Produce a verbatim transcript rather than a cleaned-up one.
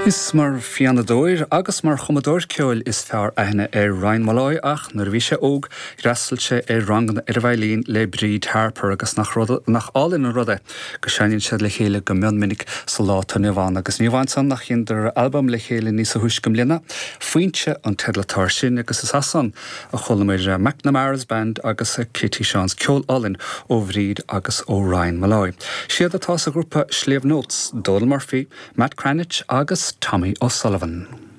Is mar phianadóir agus mar chumadóir ceoil is fearr aithne ar Ryan Molloy ach nuair a bhí sé óg d'fhreastail sé ar ranganna ar an veidhlín le Bríd Harper agus nach rud nach álainn an rud é go seinneann siad le chéile go mion minic sa lá atá inniu ann agus ní amháin san ach dheineadar albam le chéile níos túisce i mbliana Foinse an teideal atá air sin agus is as san a chualamar McNamara's Band agus Kitty Sean's ceol álainn ó Bhríd agus ó Ryan Molloy. Siad atá sa ghrúpa Sliabh Notes, Donal Murphy, Matt Cranitch agus Tommy O'Sullivan.